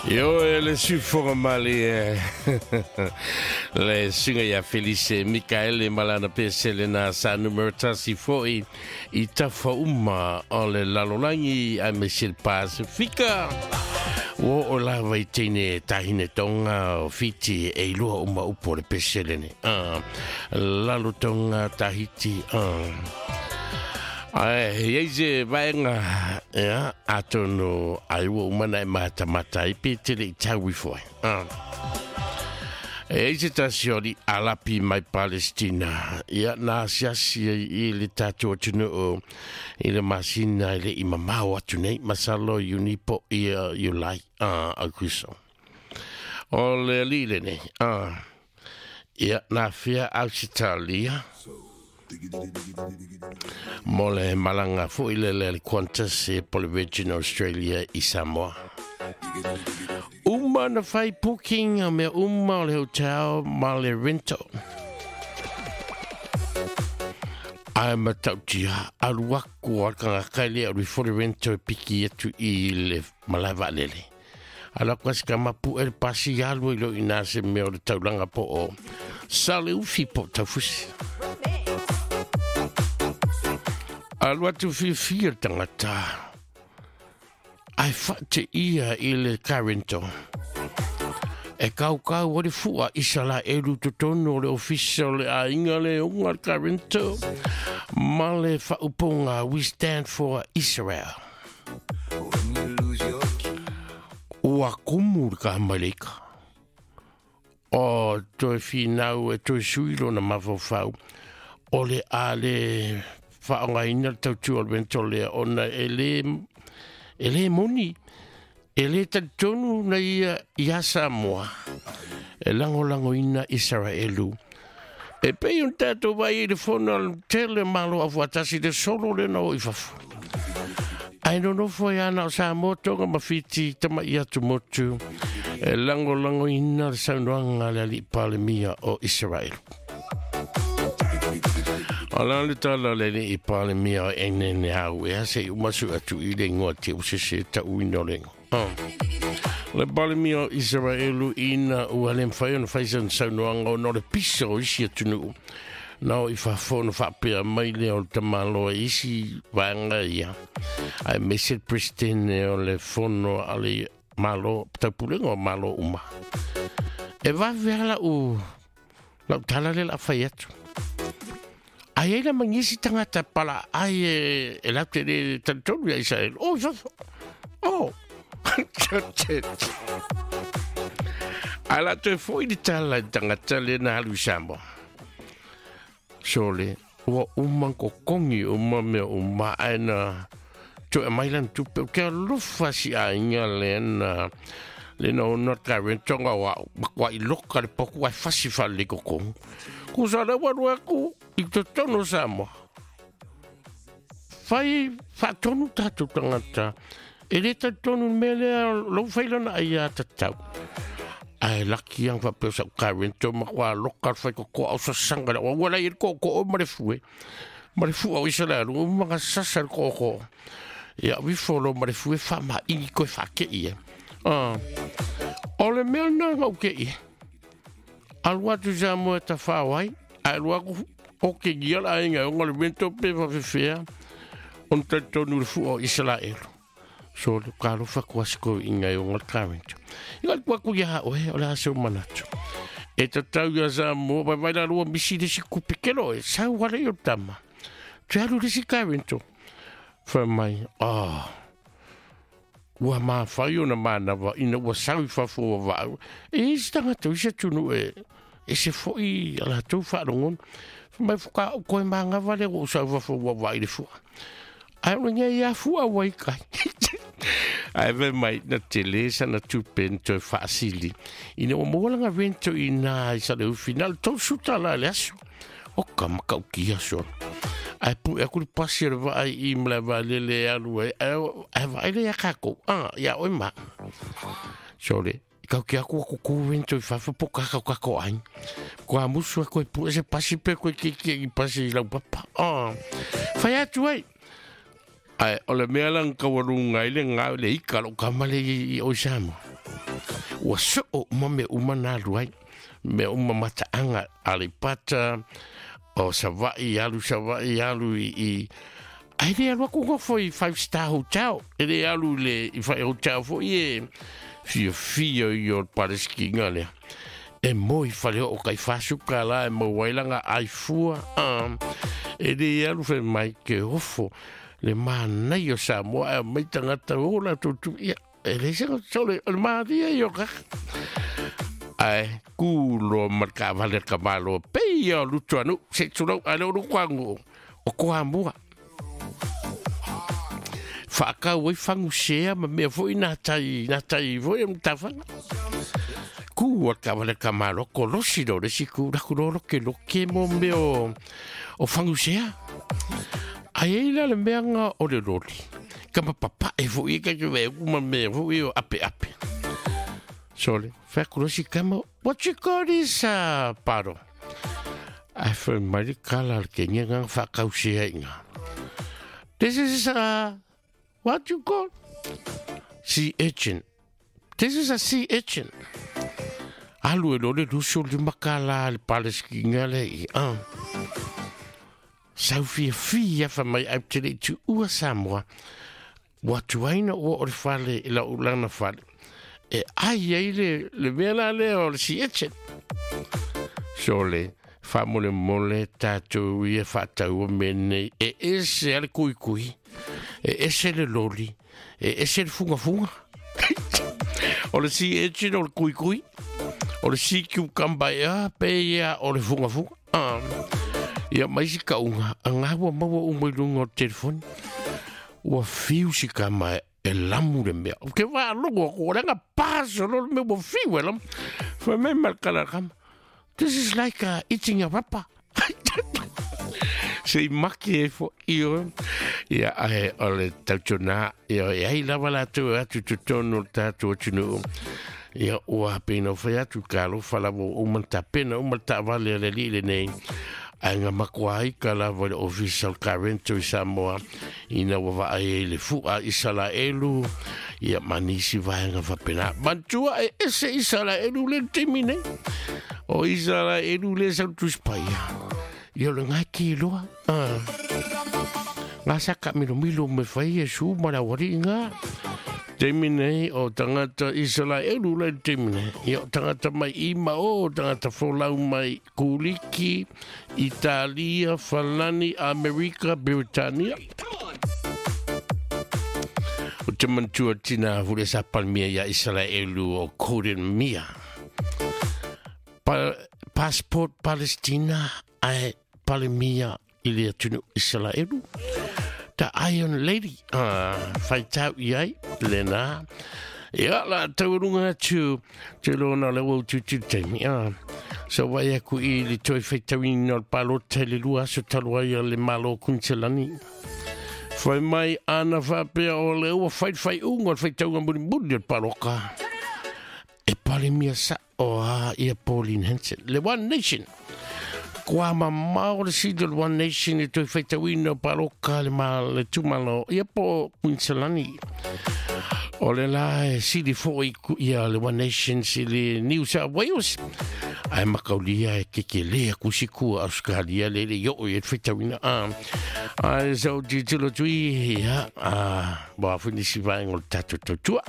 Io e le sufoga mali e le suga ia Felice Mikaele malana pesele na sa numero tasi foi i tafa uma o le lalolagi a me se Pasifika. Ua o lava i teine tahine tonga o Fiti e ilua uma upo le pesele ne. Lalo tonga Tahiti. Ai, iai se vaega, ia, atonu ai ua uma na e matamata ai pe tele i tau ifo ai. E ai se tasi o li alapi mai Palestina, ia, na asiasi ai i le tatou atunuu i le masina e le i mamao atu nei, masalo Iuni po ia Iulai, Aukuso. O le alii lenei, ia, na afea Ausetalia mo le malaga foi lele a le Qantas e po le Virgin Australia i Samoa. Uma na fai booking a mea uma o le hotel ma le rental. Ai matautia, alu aku a kangaka le alu ifo le rental e piki atu i le malae vaalele. Alu aku asi ka mapu e le pasi alu i lo ina se mea o le taulanga po o Saleufi po Taufusi. Alu atu fiafia le tangata. Ai whaate ia i le Carento. E kaukau o le fua i sala e lu totonu o le ofisa o le aiga le unga le Carento. Ma le whauponga We Stand for Israel. Ua kumu le ka maleika. O toe finau e toe sui lona mafaufau. O le a le whaongaina le tautua o le vento lea ona e le moni, e le talitonu na ia ia Samoa. E langolangoina Israelu. E pei un tātou vai i le fono al tele malo afuatasi le solo le na o i fafo. Ai no nofo e ana o Samoa tonga ma Fiti tama i atu motu. E langolangoina le saunoaga le alii Palemia o Israel. O la le tala le alii Palemia o Enene au e ase i umasu atu i le ingoa te usese tauina o le ingoa. Le Palemia o Israelu ina ua le mawhai ona whai san saunoaga ona o le pisa o isi atunuu. Na o i fafo ona whaapea mai lea o le tamaloa i isi vaega ia. Ai me se presidente o le fono a le malo, taupulega o malo uma. E vave ala u lau tala le la whai atu. Ai ai la mangisi tangata pala ai e lau te le talitonu ia Israel. Oh, fafo. Oh. Ai la toe foi le tala i tangata le na halu i Samoa. Sole, ua uma kokongi uma mea uma ai na toe mai lan tupe. O ke alofa si aiga le na le na ona ka rentonga wa makwa i loka le poku ai fasi fale kokongi. Ku sa le waru aku i totonu Samoa. Whai whaatonu tātou tangata. E le talitonu mea lea lou whailana ai a tatau. Ai laki ang whapeo sa uka rento makwa loka whai koko au sa sanga le ua lai e koko o ma le fue. Ma le fu au isa le alu mga sasa le koko. Ia wifo lo ma le fue wha ma ingi koe wha ke ia. O le mea na ngau ke ia. Alu atu sa moe ta whawai. Ai lu aku o ke gia la inga o ngā le rento pe whawhewhea. On talitonu le fu o Israel. So le ka alofa kua se kou inga i o ngā karento. I ngā kua kui aha oe, o le ase o manatu. E tatau ia Samoa, vai vai la lua misi le si kupe kelo e, sau wale i o tama. Te alu le si karento. Whai mai, ah, ua mawhai o na mānawa, ina ua sau i fafo ua waau. E isi tangata, isi atunu e, e se foi a la tou whaarongon. Whai mai whaka o koe māngawa le o sau fafo ua wai le fua. Ai o ngai ia fua wai kai. Ai ve mai na tele sa na tupe na toe whaasili. Ina o mōlanga rento i nā i sa le ufi. Nā le tau suta la le aso. O ka makau ki aso. Ai pu e aku le pasi o le vaai i mla vai lele alu ai. Ai vai le ia kākou. Ah, ia oi ma. Sole. Kau ki aku aku ku rento i whawha po kakau kako ai. Ko a musu a koe pu e se pasi pe koe ki ki i pasi i lau papa. Ah. Whai atu ai. Ai, o le mea lang kawarunga i le ngā le ika lo kamale i oi Samoa. Ua soo uma mea uma na alu ai. Mea uma mataaga Aleipata, o Savaii, alu Savaii, alu i ae le alu aku nofo i five star hotel. E le alu i le i fai hotel foi e fiafia i o le Palesitina lea. E mo i fale o kai fasuka la e maua ai langa ai fua. E le alu fai mai ke ofo le manaia o Samoa e mai tagata o latou tu ia. E le se sole o le maria i o ka. Ai, ku loa ma le kaavale a le tamaloa pei ia o Lutuanuu, se i tulou, ae le o Lutuanuu, o Toamua. Faakau ai fagusea ma mea foi nā tai, nā tai foi o Matafaga. Kū a le kaavale a le tamaloa, kolosi loa le isi ku, laku loa loke loke mo mea o, o fagusea. Ae ai la le mea nga o le loli, kama papae foi e kai ve ma mea foi o ape ape. Sole, fai atu loa si kama, what you call this, paro? Ae fai mai le kala a le kenia nga whaakausea i ngā. This is a, what you call? Sea urchin. This is a sea urchin. Alu e lo le luso le makala le Palestina le i. Sau fiafia fa mai au te le i tuua Samoa. Ua tuaina ua o le fale i lau lana fale. E ai ai le, le mea la lea o le sea urchin. So le, faamolemole tatou ia faataua mea nei, e ese a le kuikui, e ese le loli, e ese le fugafuga. O le sea urchin o le kuikui, o le sea cucumber ea, pe ia o le fugafuga. Ia mai si kauga, a ngā ua maua uma i luga o le telefoni. Ua fiu si kama e lamu le mea. Ou te faalogo atu, o le aga paso loa le mea ua fiu e lamu. Fai mai ma le kala a le kama, this is like eating a rubber. Se i maki e fo i o. Ia, ae, o le tautuana, ia, e ai lava latou e atu i totonu o le tatou atunuu. Ia, ua pei ona fai atu, talofa lava ua uma ona tapena uma le taavale a le alii lenei. Ae na matua aika lava i le ofisa o le Karento i Samoa, ina ua vaai ai i le fu'a Isalaelu, ia ma nisi vaega faapena. Manatua e ese Isalaelu le taimi nei. O Isalaelu le sau Tusi Paia. Ia o le ngā ki loa. Ngā sa ka milomilo me whai e su ma la wari ngā. Taimi nei o tangata Isalaelu lai le taimi nei. Ia o tangata mai i ma o, tangata folau mai Kuliki, Italia, Falani, Amerika, Beritania. O te manatua tina hule sa palmia ia Isalaelu o Golden Mia. Pa, passport Palestina ae Palemia i le atunu Isalaelu. The Iron Lady, whaitau i ai, lena. Ia, la tauarunga atu, te lona le wau tutu taimi. So wai aku i le toi whaitauina o le pālota i le lua aso talu ai a le Malo Kunselani. Whai mai ana whapea o le ua whai whai unga o le whaitaunga muri muri o le pāloka. E pale mia sa o a ia Pauline Hanson. Le One Nation. Kua mamao le sili o le One Nation i toi whaitauina o pāloka le ma le tumalo ia po Queensalani. O le la e sili foi ia le One Nation sili New South Wales. Ai makaulia e keke lea kusikua Australia le le yo e whaitauina. Ai so ti tilo tui ia a bo a whinisi vaenga o le tatou tautua.